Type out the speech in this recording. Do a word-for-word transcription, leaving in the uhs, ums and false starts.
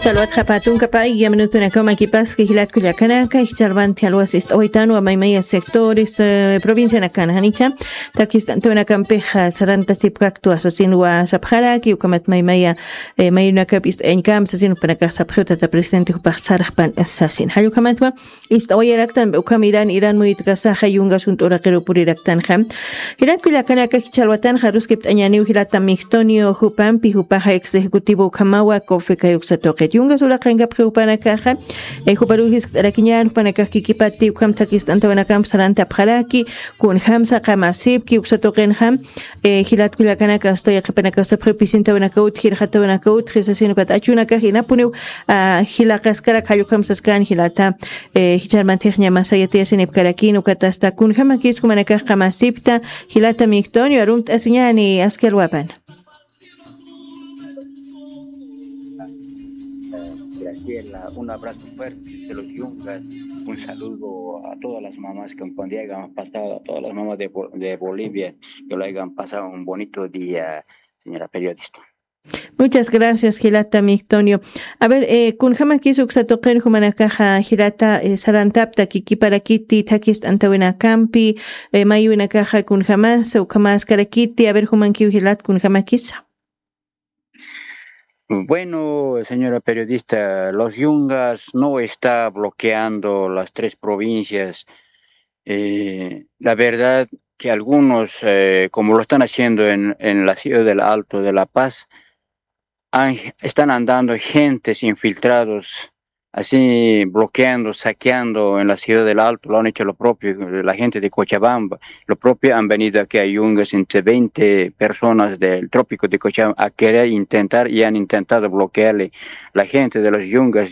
Salwat qhapatunkapay, yaminutunakaw makipaski jilatku llakanaka, jichharbanti alwas ist'awaytanwa maymaya sectores, eh, provincianakan janicha, takist'antawanakampixa sarantasipkaktwa sasinwa sapxaraki, ukamat maymaya, eh, mayunakap ist'ayañkam sasin upanakax sapxiw tata presidente jupax sarxpan sasin. Jallukhamatwa, ist'awayaraktan ukham iran iran muyutkasaxa yungas junt'u uraqir puriraktanxa. Jilat kullakanaka jichhalwatanxa aruskipt'añäniw jilata Migdonio jupampi, jupaxa ex ejecutivo ukhamawa COFECAI uksa tuqit. Yungas uraqankapxi jupanakaxa, eh, juparuw jiskt'arakiñän, jupanakax kikipati ukham thakist'antawanakamp sarantapxaraki, kunjamsa qamasipki uksa tuqinxa, eh, jilat kullakanaka asta yaqhipanakax sapxiw pisintawanaka utji, irxatawanaka utji sasin ukat achunakax inapuniw, ah, jilaqaskarak jallukhamp saskan jilata, eh, jichharmantix ñamasaya tiyasinipkarakïn ukat asta kunjamakis jumanakax qamasipta jilata Migdonio, arumt'asiñäni aski alwapan. Graciela, un abrazo fuerte de los Yungas, un saludo a todas las mamás que un día hayan pasado, a todas las mamás de, Bo- de Bolivia, que lo hayan pasado un bonito día, señora periodista. Muchas gracias, jilata Migdonio. A ver, eh, kunjamakis uksa tuqin jumanakaxa jilata, eh, sarantapta kikiparakiti thakist'antawinakampi, eh, maywinakaxa kunjamas, ukhamaskarakiti, a ver, jumankiw jilat kunjamakisa. Bueno, señora periodista, los Yungas no está bloqueando las tres provincias. Eh, la verdad que algunos, eh, como lo están haciendo en, en la ciudad del Alto de La Paz, han- están andando gentes infiltrados, así bloqueando, saqueando en la ciudad del Alto, lo han hecho lo propio, la gente de Cochabamba, lo propio han venido aquí a Yungas entre veinte personas del trópico de Cochabamba a querer intentar y han intentado bloquearle la gente de los Yungas.